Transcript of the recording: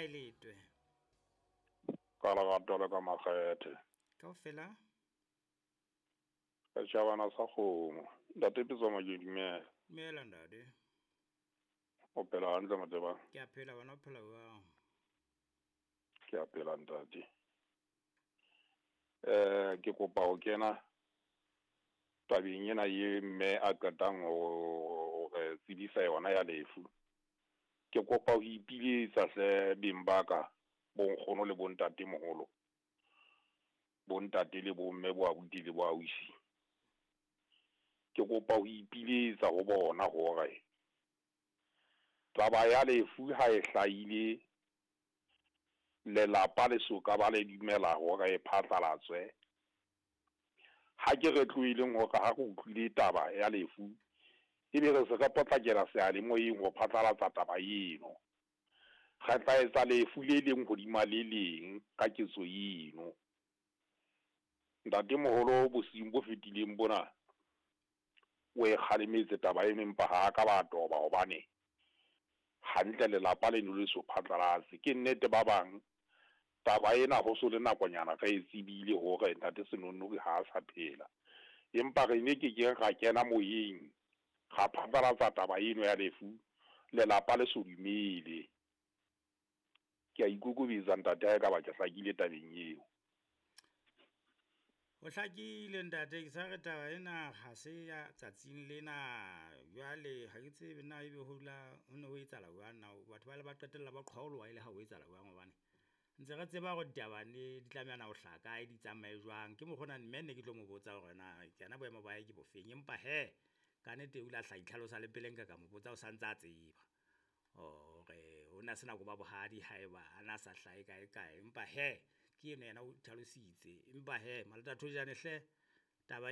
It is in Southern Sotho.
kae Letwe? Ka lerato le ka makgethe. Kaofela? Setjhabana sa kgomo. Ntate Petsamo ke dumela. Dumela ntate. O phela hantle Motebang? Ke a phela, wena o phela jwang? Ke a phela ntate. Ke kopa ho kena tabeng ena ye mme a qetang ho re tsebisa yona ya lefu. Ke kopa ho ipiletsa hle beng ba ka, bonkgono le bontate moholo. Bontate le bomme bo abuti le bo ausi. Ke kopa ho ipiletsa ho bona hore taba ya lefu ha e hlahile, lelapa le soka ba le dumela hore e phatlalatswe. Ha ke re tlohelleng hore ha re utlwile taba ya lefu, ebe re se re potlakela seyalemoyeng ho phatlalatsa taba eno. Re tla etsa lefu le leng hodima le leng ka ketso eno. Ntatemoholo bosiung bo fetileng bona, o e kgalemetse taba eno empa ha ka ba toba hobane hantle lelapa leno le so phatlalatse. Ke nnete ba bang taba ena ho so le nakonyana re e tsebile hore ntate Senonnori ha a sa phela. Empa re ne ke keng ra kena moyeng ra phatlalatsa taba eno ya lefu lelapa le so dumele. Ke a ikokobetsa ntate ha ekaba ke hlakile tabeng eo. Ho hlakile ntate, ke sa re taba ena ha se ya tsatsing lena. Jwale ha ke tsebe na ebe ho la ho ne ho etsahala jwang na batho ba le ba qetella ba qhwaoloha e le ha ho etsahala jwang hobane ntse re tseba hore ditaba ne di tlameha na ho hlaha kae, di tsamaye jwang. Ke mokgwa ona mme ne ke tlo mo botsa hore na yena boemo ba hae ke bofeng. Empa hee ka nnete o ile a hla itlhalosa le pele nka ka mo botsa o santse a tseba hore ho na se nako ba bohadi haeba a na sa hlahe kae kae. Empa hee ke eno yena o itlhalositse. Empa hee Malota Thojane hle